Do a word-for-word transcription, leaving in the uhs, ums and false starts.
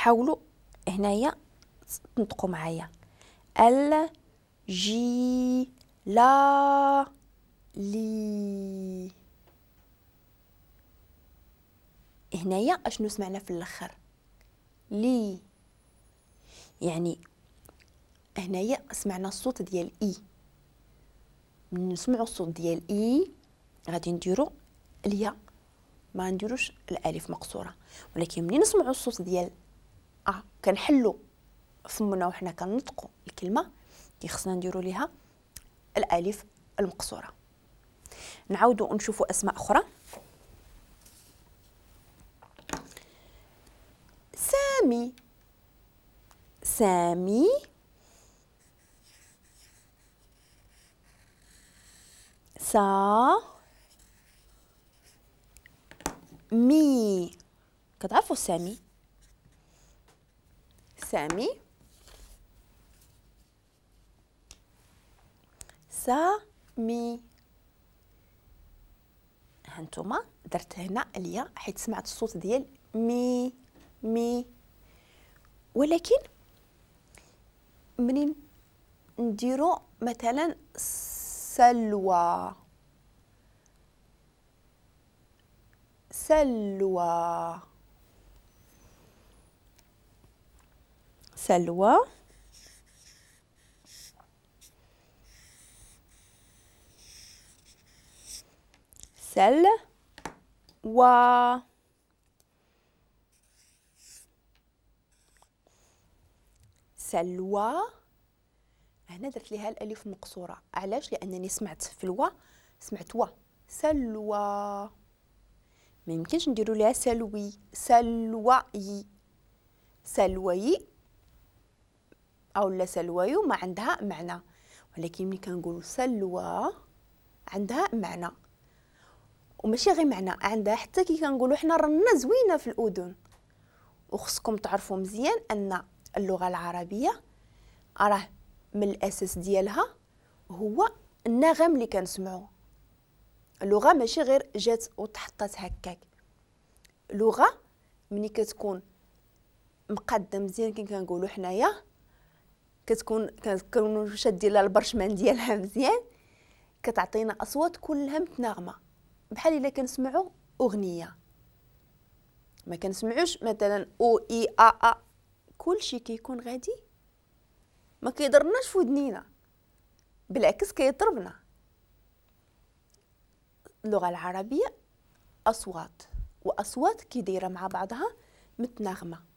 حاولوا هنايا تنطقوا معايا ال جي لا لي. هنايا اشنو سمعنا في الاخر؟ لي، يعني هنايا سمعنا الصوت ديال اي. من نسمعوا الصوت ديال اي غادي نديرو الياء، ما نديروش الالف مقصورة. ولكن منين نسمعوا الصوت ديال ا كنحلو فمنا وحنا كنطقوا الكلمة، خصنا نديرو ليها الالف المقصورة. نعاودو نشوفوا اسماء اخرى. سامي، سامي، سا مي. كتعرفوا سامي؟ سامي، سامي. هانتوما درت هنا الياء حيت سمعت الصوت ديال مي مي. ولكن منين نديرو مثلا سلوى، سلوى، سلوى، سلوى، سلوى. هنا درت ليها الالف مقصورة. علاش؟ لانني سمعت في الوا، سمعت وا، سلوى. ما يمكنش نديرو ليها سلوي، سلوي، سلوي او لا سلويو ما عندها معنى. ولكن ملي كنقولوا سلوى عندها معنى، وماشي غير معنى، عندها حتى كي كنقولوا حنا رنا زوينة في الاذن. وخصكم تعرفوا مزيان ان اللغة العربية راه من الاساس ديالها هو النغم اللي كنسمعو. اللغة ماشي غير جات وتحطات هكاك. لغة ملي كتكون مقاده مزيان كي كنقولوا حنايا، كتكون كنكونوا شادين لها البرشمان ديالها مزيان، كتعطينا اصوات كلها متناغمه، بحال الا كنسمعوا اغنية. ما كنسمعوش مثلا او اي ا ا، كلشي كيكون غادي ما كيضرناش في ودنينا، بالعكس كيضربنا. اللغة العربية اصوات، واصوات كي دايرة مع بعضها متناغمه.